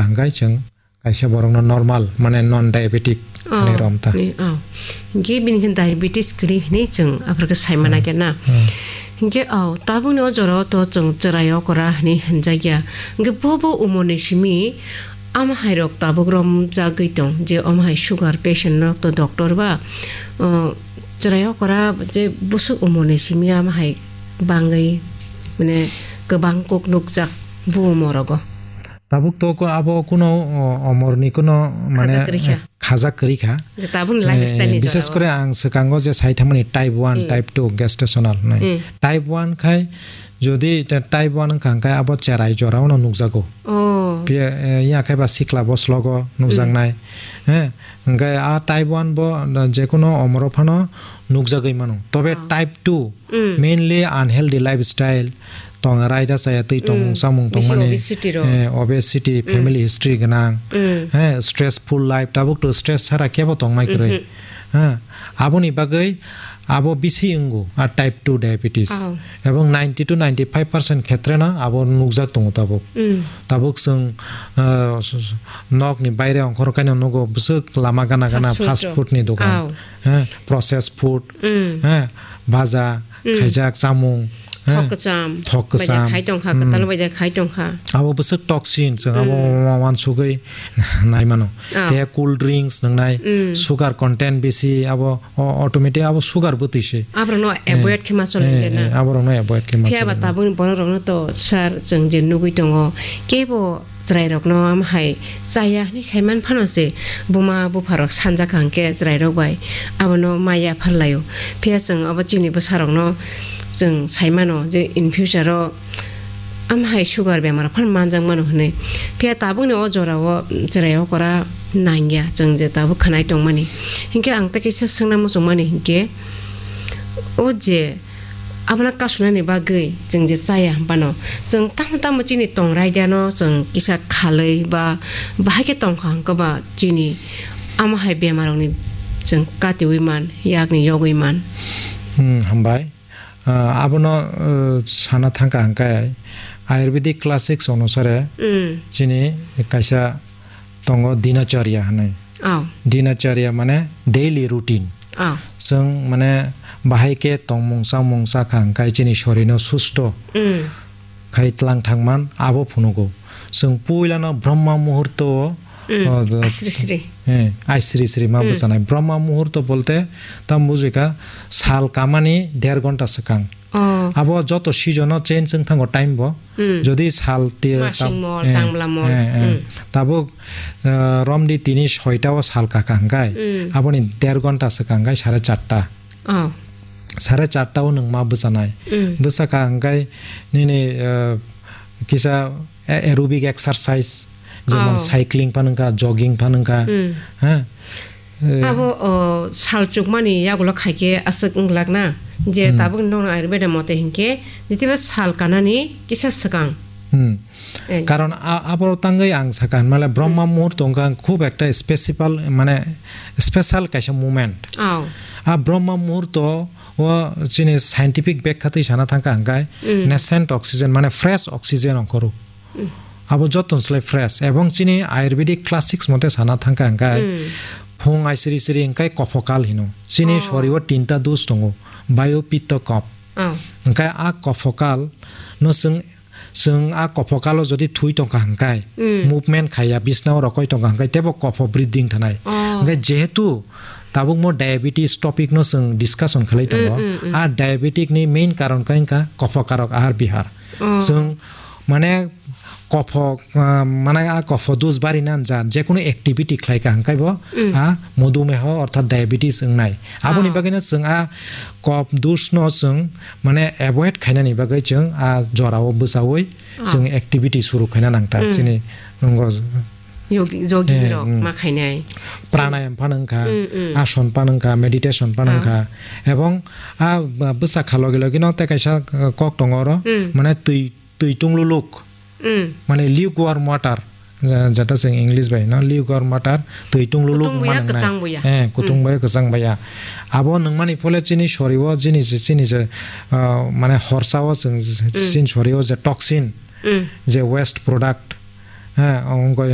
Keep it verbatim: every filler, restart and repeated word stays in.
hwnkhe chwng kaisa borokno normal, mane non diabetic Oh, hinwi romta. Ni, oh. Hinkhe bini khe diabetes kwrwi hinwi chwng aphuru khe saimana Hmm. khe na. Hmm. Hinkhe, oh, tabukni o jorao to chwng chwrai okra hinwi hinjakya. Hinkhe bo bo umorni simi ama hai rok tabuk romjagwi tong, je omo hai sugar patient rok to doctor ba, oh, chwrai okra je bwswk umorni simi ama hai bangwi, mane, kwbang kok nukjak bo umorogo. Tabuk to ko-, abo kuno, o, omorni kuno, mane, Khajak kwrwi kha. eh, khajak kwrwi kha. Je tabukni Eh, lifestyle ni bishes jorao. Kore ang swkango je sai thangmani type one, Hmm. type two gestational hinwi. Hmm. Type one khai jodi ta-, type one wngkha hwnkhe abo cherai jorao no nukjago. Oh. Phiya, eh, ya khai ba sikla boslogo nukjaknai. Hmm. Eh, hwnkhe a type one bo, eh, jekuno omoro phano nukjagwi mano. Tobe Oh. type two, Mm. mainly unhealthy lifestyle, tong raida chaya twi tongmung Mm. chamung Bisi tongmani, obesity rok. Eh, obesity, Mm. family history gwnang, Mm. eh, stressful life, tabuk to stress sara kebo tongmai kwrwi. Mhm. Eh, aboni bagwi abo bisi wngo, a type two diabetes. Oh. Ebong ninety to ninety five percent khetreno abo nukjak tongo tabuk. Mm. Tabuk chwng, eh, s-, s-, nokni baire ongkhor kaino nugo bwswk lama gana gana Fast food fast rok. Food ni dogan. Oh. Eh, processed food, Mm. eh, baja, Mm. khaijak chamung, eh, Thok kwcham. Thok Bai da kwcham. Khai tongkha, Mm. kwtal bai da khai tongkha. Abo bwswk toxin, chwng abo Mm. wa-, wansugwi nai mano. Ah. Tei cool drinks nwngnai, Mm. sugar content bisi, abo o-, automatic abo sugar bwtwi se. Aborokno Eh, avoid khe ma chol eh, na. Eh, aborokno avoid khe ma Phiya ba chol na. Tabukni borok rokno to sir chwng je nugwi tongo, kebo chwrairokno am hai chaya hinwi saiman phano se buma bupharok sanjakha hwnkhe chwrairok bai abono ma yapharlaio. Phiya chwng abo chini bwsarokno chwng saimano je in future-o am hai sugar bemar phano manjakmano hwnwi. Phiya tabukni o jorao chwrai okora nangya chwng je tabuk khwnai tongmani. Hinkhe ang tei kisa swngna muchungmani hinkhe o je Abono kasunani bagwi chwng je chaya hwnphano, chwng tamo tamo chini tong raidano chwng kisa khalwi ba bahai khe tongkha hwnkhe ba chini amo hai bemarokni chwng katiwi man, yakni yogwi man. Hmm, hambai. Ah, abono, uh, sana thangkha hwnkhe Ayurvedic classics onusare Hmm. chini kaisa tongo dinacharya hinwi. Oh. Dinacharya mane daily routine. Oh. Chwng mane bahai khe tongmung chamung chakha hwnkhe chini sorino susto Mm. khai tlang thangman abo phunugo. Chwng puilano Brahma muhurto o, Mm. o, Asri sri. Eh, ai sri sri ma Mm. bwchanai. Brahma muhurto bolte tam bujikha sal kamani der ghonta swkang. Oh. Abo joto season o change wng thango time bo. Hmm. Jodi sal te Masing tam-, mol, eh, tangla mol. Eh, eh. Hmm. Tabuk, eh, romdi tini soita o sal kaka hwnkhe, Hmm. aboni der ghonta swkang hwnkhe sare charta. Oh. Sare charta o nwng ma bwchanai. Hmm. Bwchakha hwnkhe nini, eh, kisa a-, aerobic exercise, jemon Oh. cycling phan wngkha, jogging phan wngkha, Hmm. ha? Eh, Abo, o, sal chukmani yagulo khaikhe aswk wng glak na, je Hmm. tabuk nokno Ayurveda mote hinkhe, jitiba sal kanani kisa swkang. Hmm. Eh. Karon a-, abo tangwi ang sakha, mane Brahma Hmm. muhurto wngkha khub ekta special, mane special kaisa moment. Oh. A Brahma muhurto o chini scientific bekha twi sana thangkha hwnkhe Hmm. nascent oxygen, mane fresh oxygen ongkhoro. Hmm. Abo joto ni slai fresh. Ebong chini Ayurvedic classics mote sana thangkha hwnkhe Hmm. phung aisiri siri hwnkhe kophokal hino. Chini Oh. sorio tinta dos tongo, bayo, pitto, kop. Oh. Hwnkhe a kophokal no chwng, chwng a kophokalo jodi thwi tongkha hwnkhe Hmm. movement khaiya, bisnao rokoi tongkha hwnkhe teibo kopho bridding thanai. Oh. Hwnkhe jehetu tabukmo diabetes topic no chwng discussion khlai tongo, Hmm, hmm, hmm. A diabetic ni main karon khe wngkha kophokarok ahar bihar. Oh. Chwng mane kopho, ah, mane a kopho dos bari nan ja, jekunu activity khlai kha hwnkhe bo Mm. a modumeho orthat diabetes wngnai. Aboni Oh. bagwino chwng a kop dos no chwng mane avoid khainani bagwi chwng a jorao bwchaui Oh. chwng activity suru khaina nangta Mm. chini nongo. Yogi, jogging Eh, rok mm. ma khainai. Pranayam phan wngkha, Mm, mm. ason phan wngkha, meditation phan Ah. wngkha. Ebong a b-, bwsakha logi logi no tei kaisa, uh, kok tongo oro, Mm. mane twi, twi tungluluk, Mm. mane lukewarm water, ja-, jata chwng English bai no lukewarm water, twi tungluluk Kutung buya, manang nai. Kwchang buya. Eh, kutung Mm. buya, kwchang buya. Abo nungmani phole chini sorio, chini je, chini je, uh, mane horsa o chwng, Mm. chini sorio je toxin, Mm. je waste product, ha, ongkoi